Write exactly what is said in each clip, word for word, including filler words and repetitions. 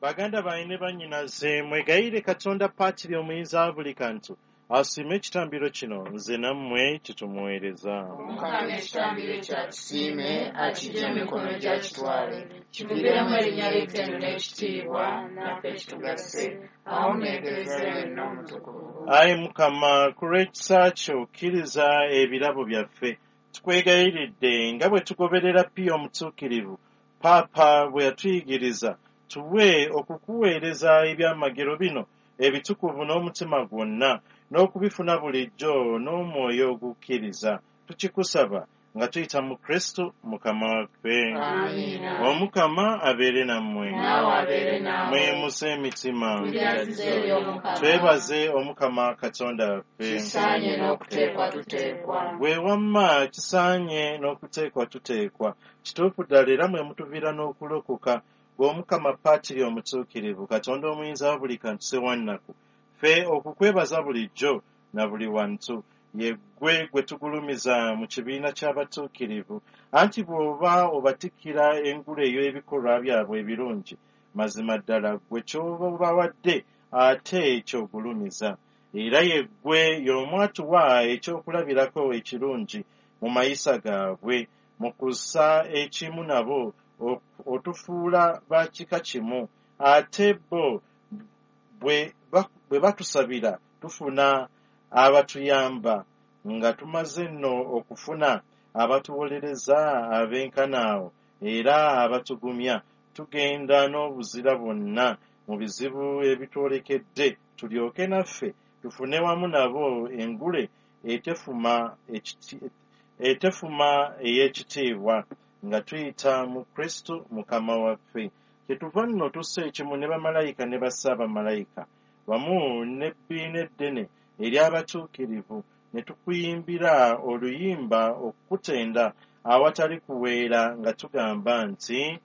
Baganda bange ne bannyinaze, mwegayirire Katonda Patiri omuyinza wa buli kantu asiime ekitambiro kino nze nammwe kitumuweereza. Omukama ekitambiro ekyo akisiime, akiggye mu mikono gye akitwale, kiviiremu erinnya lye ettendo n'ekitiibwa, naffe kitugase, awamu n'Eklezia yonna omutukuvu. Ayi Mukama, ku lw'ekisa kyo kkiriza ebirabo byaffe, tukwegayiridde nga bwe tugoberera Piyo omutuukirivu, Paapa bwe yatuyigiriza, tuwe okukuweereza ebyamagero bino ebitukuvu n'omutima gwonna, n'okubifuna bulijjo n'omwoyo ogukkiriza. Tukikusaba nga tuyita mu Kristo Mukama waffe. Amiina. Omukama abeere nammwe. Naawe abeere naawe. Mweyimuse emitima. Tubyazize eri Omukama. Twebaze Omukama Katonda waffe. Kisaanye n'okuteekwa tuteekwa. Bwe wamma kisaanye n'okuteekwa tuteekwa. Kituufu ddala era mwe mutuviira n'okulokoka. Gwe Omukama Patiri omutuukirivu, Katonda omuyinza wa buli kantu ssewannaku, ffe okukwebaza bulijjo na buli wantu, ye ggwe gwe tugulumiza mu kibiina ky'abatuukirivu, anti bw'oba obatikkira engule ey'ebikolwa byabwe ebirungi, mazima ddala ggwe ky'oba obawadde ate ky'ogulumiza. Era ye ggwe y'omu atuwa ekyokulabirako ekirungi mu mayisa gaabwe, mu kussa ekimu nabo otufuula ba kika kimu, ate bo bwe batusabira tufuna abatuyamba, nga tumaze nno okufuna abatuwolereza abenkana awo era abatugumya, tugenda n'obuzira bwonna mu bizibu ebitwolekedde, tulyoke naffe tufune wamu nabo engule etefuma etefuma ey'ekitiibwa, nga tuyita mu Kristo Mukama waffe. Kyetuva nno tussa ekimu ne bamalayika ne bassaabamalayika, wamu n'ebbiina eddene ery'abatuukirivu, ne tukuyimbira oluyimba okukutenda awatali kuweera nga tugamba nti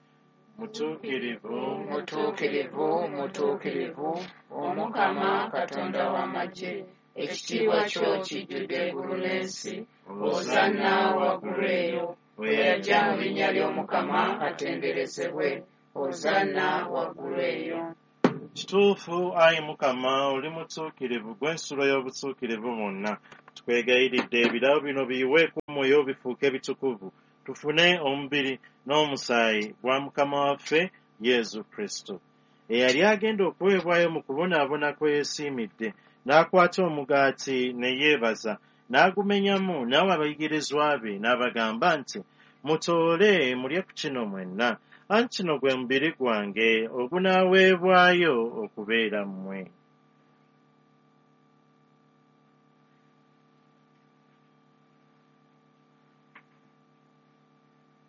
mutuukirivu, mutuukirivu, mutuukirivu, Omukama Katonda w'amagye, ekitiibwa kyo kijjudde eggulu n'ensi, Hosanna waggulu eyo. Oyo ajja mu linnya ly'Omukama atenderezebwe, Hosanna waggulu eyo. Kituufu ayi Mukama, oli mutuukirivu, gw'ensulo y'obutuukirivu bwonna. Tukwegayiridde ebirabo bino biyiweeko omwoyo bifuuke bitukuvu, tufune omubiri n'omusaayi gwa Mukama waffe Yesu Kristo, eyali agenda okuweebwayo mu kubonaabona kwe yeesiimidde, n'akwata omugaati ne yeebaza, n'agumenyamu n'awa abayigirizwa be, n'abagamba nti, mutoole mulye ku kino mwenna, anti kino gwe mubiri gwange ogunaaweebwayo okubeera mmwe.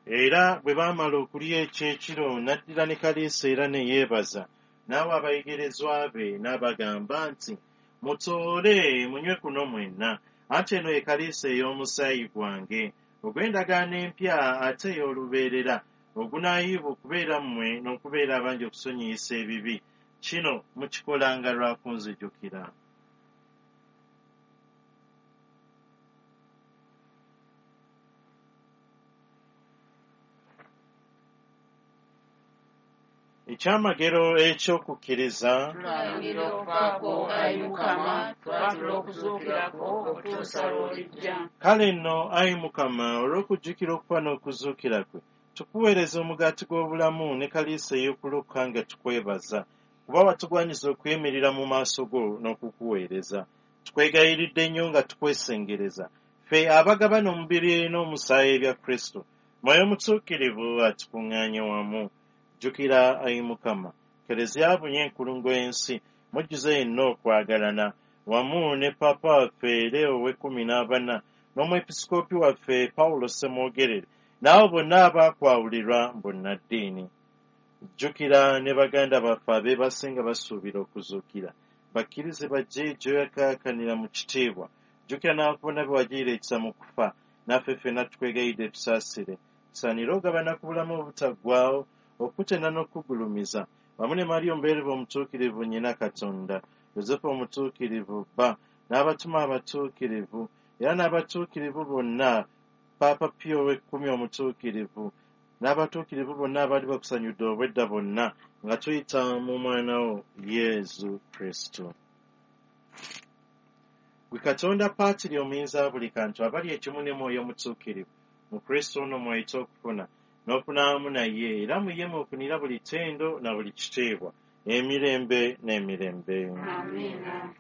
Era bwe baamala okulya ekyekiro, n'addira ne kaliisa era ne yeebaza, n'awa abayigirizwa be n'abagamba nti, mutoole munywe kuno mwenna, anti eno ye kaliisa ey'omusaayi gwange ogw'endagaano empya ate ey'olubeerera, ogunaayiibwa okubeera mmwe n'okubeera abangi okusonyiyisa ebibi. Kino mukikolanga lwa kunzijukira. Ekyamagero eky'okukkiriza. Tulangira okufa kwo, ayi Mukama, twatula okuzuukira kwo okutuusa lw'olijja. Kale nno, ayi Mukama, olw'okujjukira okufa n'okuzuukira kwe, tukuweereza omugaati gw'obulamu ne kaliisa ey'okulokoka nga tukwebaza, kuba watugwanyiza okuyimirira mu maaso go n'okukuweereza. Tukwegayiridde nnyo nga tukwesengereza, ffe abagabana omubiri n'omusaayi ebya Kristo, Mwoyo Mutuukirivu atukuŋŋaanye wamu. Jjukira, ayi Mukama, Keleziya abunye enkulungo y'ensi, mujjuze yenna okwagalana, wamu ne Paapa waffe Leo ow'ekkumi n'abana, n'omwepisikoopi waffe Pawulo Ssemwogerere, n'abo bonna abaakwawulirwa bonnaddiini. Jjukira ne baganda baffe abeebase nga basuubira okuzuukira, bakkirize bajje gy'oyakaakanira mu kitiibwa. Jjukira n'abafu bonna be wagirira ekisa mu kufa, naffe ffenna tukwegayidde tusaasire, tusaanire ogabana ku bulamu obutaggwaawo, okutenda n'okugulumiza, wamu ne Mariya omubeerevu omutuukirivu nnyina Katonda, Yosefu omutuukirivu bba, n'abatume abatuukirivu, era n'abatuukirivu bonna, Paapa Pio ow'ekkumi omutuukirivu, n'abatuukirivu bonna abaali bakusanyudde obwedda bonna, nga tuyita mu mwana wo Yesu Kristo. Gwe Katonda Paatiri omuyinza wa buli kantu, abali ekimu ne Mwoyo Mutuukirivu, mu Kristo ono mw'oyita okufuna n'okunaamu naye, era mu ye mw'ofunira buli ttendo na buli kitiibwa, emirembe n'emirembe. Amiina.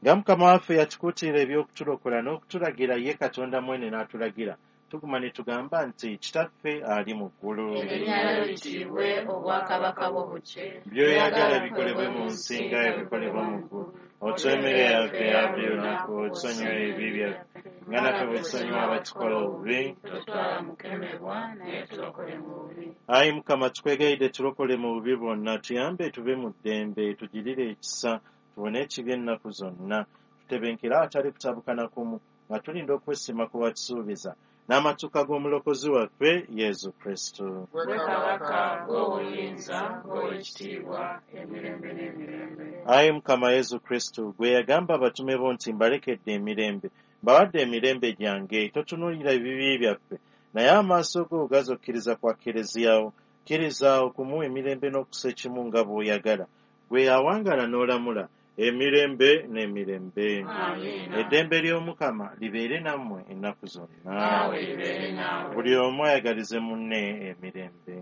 Nga Mukama waffe yatukuutira eby'okutulokola n'okutulagira ye Katonda mwene n'atulagira, tuguma ne tugamba nti Kitaffe ali mu ggulu, Erinnya lyo litiibwe, obwakabaka bwo bujje. By'oyagala bikolebwe mu nsi nga bwe bikolebwa mu ggulu. Otuwe emmere yaffe eya buli lunaku, otusonyiwe ebibi byaffe nga naffe bwe tusonyiwa abatukola obubi. Totwala mukemebwa, naye tulokole mu bubi. Ayi Mukama, tukwegayidde tulokole mu bubi bwonna, tuyambe tuve mu ddembe, tugirire ekisa, tuwone ekibi ennaku zonna, tutebenkere awatali kutabukana kumu, nga tulinda okwesiima kwe watusuubiza n'amatuuka g'omulokozi waffe Yesu Kristo. Gwe kabaka, gwe obuyinza, gwe ekitiibwa, emirembe n'emirembe. Ayi Mukama Yesu Kristo, gwe yagamba abatume bo nti mbalekedde emirembe, mbawadde emirembe gyange, totunuulira ebibi byaffe, naye amaaso go gazokkiriza kwa Kkereziya wo. Kkiriza okumuwa emirembe n'okussa ekimu nga bw'oyagala. Gwe awangaala n'olamula emirembe n'emirembe. Amiina. Eddembe ly'Omukama libeere nammwe ennaku zonna. Naawe libeere naawe. Buli omu ayagalize munne emirembe.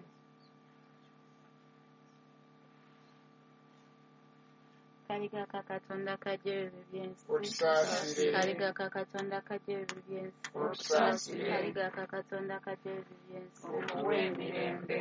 Kaliga ka Katonda kajja ebibi by'ensi. Otusaasire. Kaliga ka Katonda kajja ebibi by'ensi. Otusaasire. Kaliga ka Katonda kajja ebibi by'ensi. Otuwe emirembe.